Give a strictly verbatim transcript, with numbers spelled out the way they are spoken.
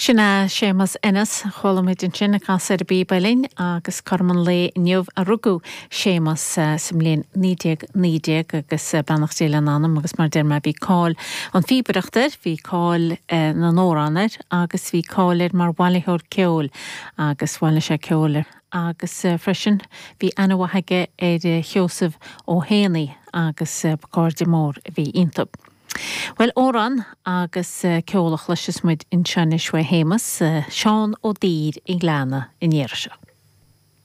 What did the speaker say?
Sin é Séamus Ennis chuala muid ansin ag casadh ar an bpíob uilleann agus cothrom an lae inniu a rugadh Séamus sa mbliain naoi déag naoi déag agus beannacht Dé lena anam agus mar deir mé bhí cáil an phíobaireacht air, bhí cáil na n-amhrán air agus bhí cáil air mar bhailitheoir ceoil agus bhailigh sé ceol agus freisin bhí aithne mhaith aige ar Sheosamh Ó hÉanaí agus cairde mór a bhí iontu. Well amhrán agus ceol a chloisfeas muid anseo anois uaidh Shéamus, Seán Ó Duibhir an Ghleanna an iarraidh seo.